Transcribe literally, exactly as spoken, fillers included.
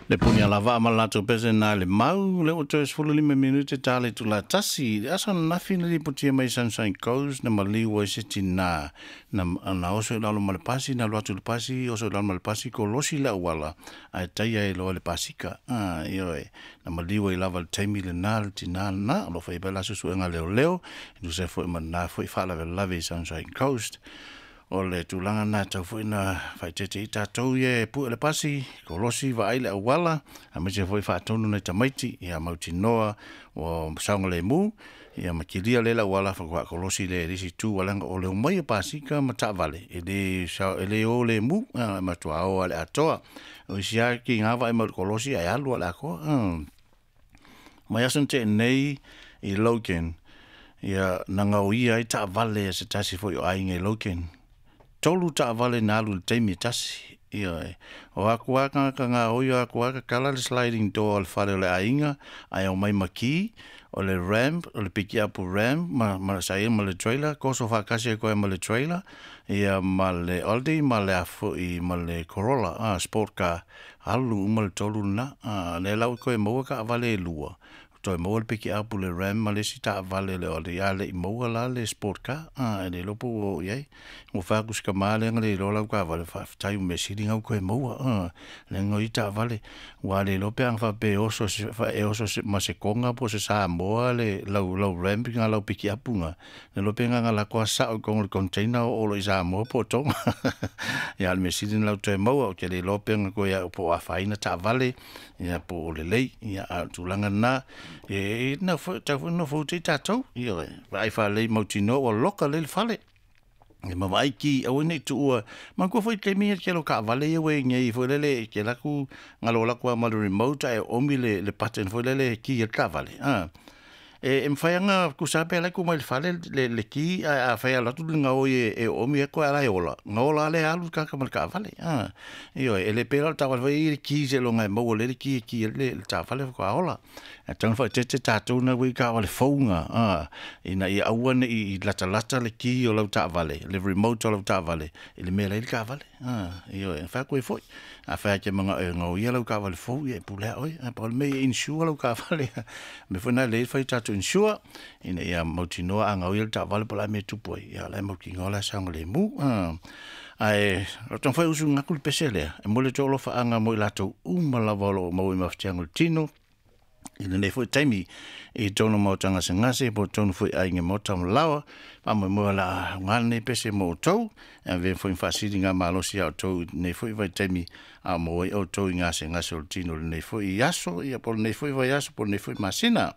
Le puni ala vaa ma latou pese na le mau, le o toe sefulu lima minute ta le itula tasi. Le aso ananafi na lipotia mai Sunshine Coast na maliu ai se tinā na, na oso i lalo ma le pasi, na alu atu i le pasi, oso i lalo ma le pasi, kolosi le auala, ae taia ai loa le pasika. Ah, ioe, na maliu ai lava le taimi lenā le tinā lenā, o lo o faia pea la suesuega a leoleo, e tusa ai foi ma lenā foi faalavelave i Sunshine Coast. O le tulaga lena e tau foi na faaeteete ai tatou ia e pue le pasi, kolosi vaai le auala, aemaise foi faatonu nai tamaiti ia mautinoa ua saogalemu, ia ma kilia lea le auala faatoa kolosi lea i le isi itu, leaga o le omai o pasika ma taavale, e le e le o lemu, e matua o lava i le atoa. O isi lava kiga vaai mai i le kolosi ae alu lava i le atoa. Mai aso na tea nei i Logan, ia na gaoia ai taavale a se tasi foi o aiga i Logan. Tolu taavale na alu i le taimi e tasi. Ioe. O aku lava tagata gaoi, o aku lava tatala le sliding door o le fale o le aiga, ae omai ma ki, o le ramp, o le pikiapu ramp, ma, ma sa ia ma le trailer, koso faatasi ai koe ma le trailer, ia ma le Audi ma le a foi ma le Corolla, ah, sport car, alu uma le tolu lena. Ah, lea la ua toe maua taavale e lua, toe maua le pikiapu le Ram ma le isi taavale le Audi, a le i maua la le sport car, a e le iloa po ua oo i ai. Ua fai atu si tama lea na le iloa lau taavale, faafetai ua mea sili na ua toe maua, a leaga o ia taavale, ua le iloa pe ana faapea e oso e oso ma se Toga po o se Samoa le lau lau Ram na lau pikiapu na, le iloa pe na ona alu atu lava sao i totonu o le container oo loa i Samoa po o Toga. Ia a o le mea sili na ua toe maua, ou te le iloa pe na toe po o afaina taavale ia po o lelei, ia a o le tulaga lena, e tatau foi ona nofo uta i tatou, ioe, vaai faalelei mautinoa ua loka lelei le fale. Ia ma vaai ki aua ne i tuua. Manatua foi le taimi ia le tele o taavale ia ua i ai nei foi lele e te alu atu galo alu atu lava ma le remote ae oomi le, le button foi lele e ki ai le taavale. A e, e mafai lava ona tusa pe ala tu mai le fale le, le ki, ae afai e alu atu le gaoi e, e oomi ai koe a la e ola, ona ola lava lea alu le tagata ma le taavale. A ioe, e le pei la o le taavale foi e i ai le ki seiloga e maua lelei le ki e ki ai le, le taavale faatoa ola. Ae tatau ona faaeteete tatou na ua i taavale fou na, a ina ia aua ne i latalata le ki o lau taavale, le remote o lau taavale i le mea la e i ai le taavale. A ioe, fai atu ai foi, afai e te manao e gaoia lau taavale fou, ia e pule lava oe, ae pau le mea ia insure lau taavale. O le mea foi lena e lelei le fai o tatou insure, ina ia mautinoa a gaoia le taavale po o le a le mea e tupu ai, ia o la e mautinoa la e saogalemu. Ae o le taumafai e usuina atu le pese lea, e momoli atu ai alofaaga mo i latou uma lava o lo o maua i mafatiaga o le tino, i lenei foi taimi i totonu o maota gasegase po o totonu foi aiga maota ma laoa, faamoemoe o le a aoga lenei pese mo outou, e avea foi ma faasiligamalosi ia outou i lenei foi vaitaimi a o maua ai outou i gasegase o le tino i lenei foi aso, ia po o lenei foi vaiaso po o lenei foi masina.